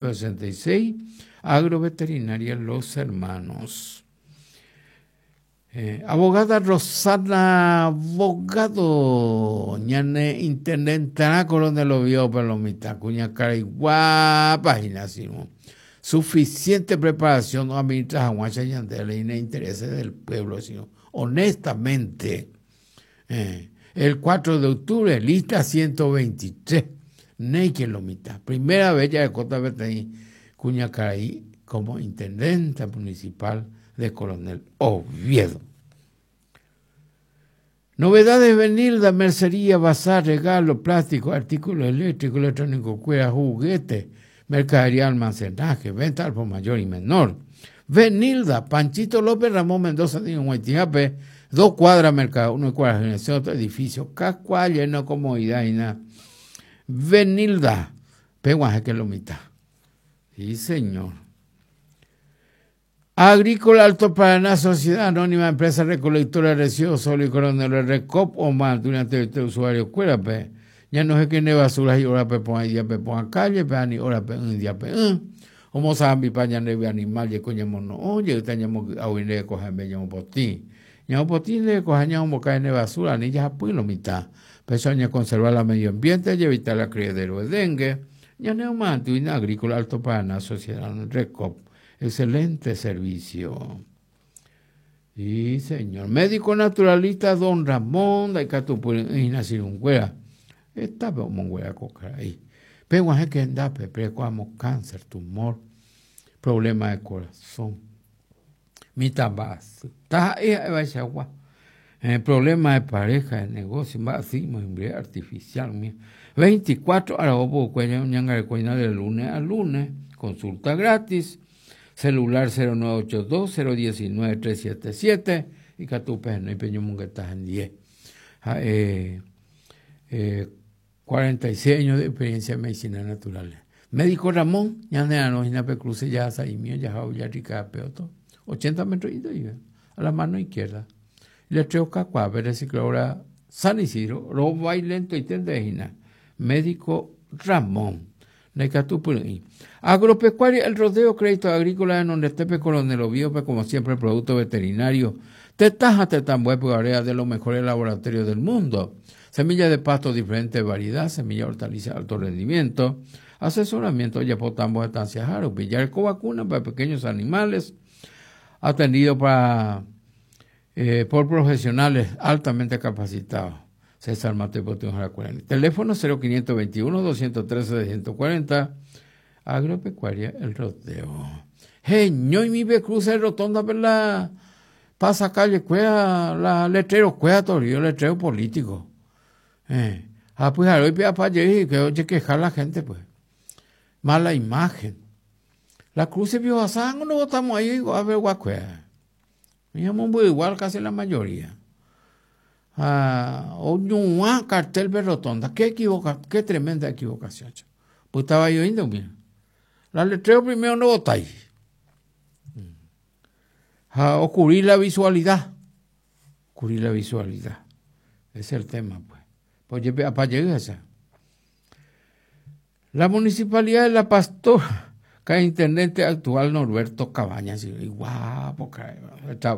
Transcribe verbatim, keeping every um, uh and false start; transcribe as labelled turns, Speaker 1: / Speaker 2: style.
Speaker 1: sesenta y seis, Agroveterinaria Los Hermanos. Eh, abogada Rosana Abogado, ñane intendentará Coronel Oviedo Palomita, cuña cara y guapa, suficiente preparación no administra Juancha Ñandele y intereses del pueblo, sino honestamente. Eh, el cuatro de octubre, lista ciento veintitrés, Neike Lomita, primera vez ya de Cota Betení, cuña Caraí como intendente municipal de Coronel Oviedo. Novedades Benilda, mercería, bazar, regalo, plástico, artículos eléctricos, electrónico, cuera, juguete, mercadería, almacenaje, venta al por mayor y menor. Benilda, Panchito López, Ramón Mendoza, de Huaytijape, dos cuadras, mercado, uno cuadra, generación, otro edificio, cascua, lleno, comodidad y nada. Benilda, peguaje que lo mitad. Sí, señor. Agrícola Alto Paraná, Sociedad Anónima, Empresa Recolectora de Residuos Sólidos, Coronel Recop o más, durante este usuario, cuérape. Ya no sé qué ne basura y ahora pe pon día pe pon calle, pe ani hora pe un día pe un. Homo sabe pa ya ne animal ye coño mono, oye, teníamos a oír coger me llamo potí. Ñamo potí le coge ñamo cae ne basura, ni ya pues lo mitad. Pesoña conservar el medio ambiente y evitar la criadero de dengue. Ya ne más, Agrícola Alto Paraná, Sociedad Recop. Excelente servicio. Sí, señor. Médico naturalista don Ramón de Icatupuri, Está monguera coca ahí. Pero hay que andar, pero cáncer, tumor, problema de corazón. Mitabas. Está ahí, problema de pareja, de negocio, así, artificial. veinticuatro horas, de lunes a lunes, consulta gratis. Celular cero nueve ocho dos, cero diecinueve, tres siete siete y Catupe no y Peño Munguetas en diez. Eh, eh, cuarenta y seis años de experiencia en medicina natural. Médico Ramón, ya no pe cruce ya saimio, ya ya rica peoto, ochenta metros y a la mano izquierda. Le treo cacua, recicladora San Isidro, roba y lento y tendejina. Médico Ramón. Agropecuaria, el rodeo, crédito agrícola en donde Tepe Coronel Oviedo, como siempre, producto veterinario. Tetaja, tetambué, área de los mejores laboratorios del mundo. Semillas de pasto, diferente variedad, semilla hortaliza, alto rendimiento. Asesoramiento, yapotambo, estancia, jaro, pillarco, vacuna para pequeños animales. Atendido para, eh, por profesionales altamente capacitados. César Mateo Potón Jaracuarani. Teléfono cero quinientos veintiuno, doscientos trece, seiscientos cuarenta. Agropecuaria El Rodeo. Genio y mi be cruce rotonda per la pasa calle cuea la letrero cuea torio letrero político. Eh. Ah, pues hoy pia pa que oye quejar la gente pues. Mala imagen. La cruce vio a San, no votamos ahí a ver guacuea. Mi amor igual casi la mayoría. Ah, o cartel de rotonda, qué equivoca, qué tremenda equivocación. Pues estaba yo indio, mira. La letreo primero no votáis. Ah, o cubrir la visualidad. Cubrir la visualidad. Ese es el tema, pues. Pues yo, pa' llegar esa. La municipalidad de La Pastora, que es intendente actual Norberto Cabañas, y guapo,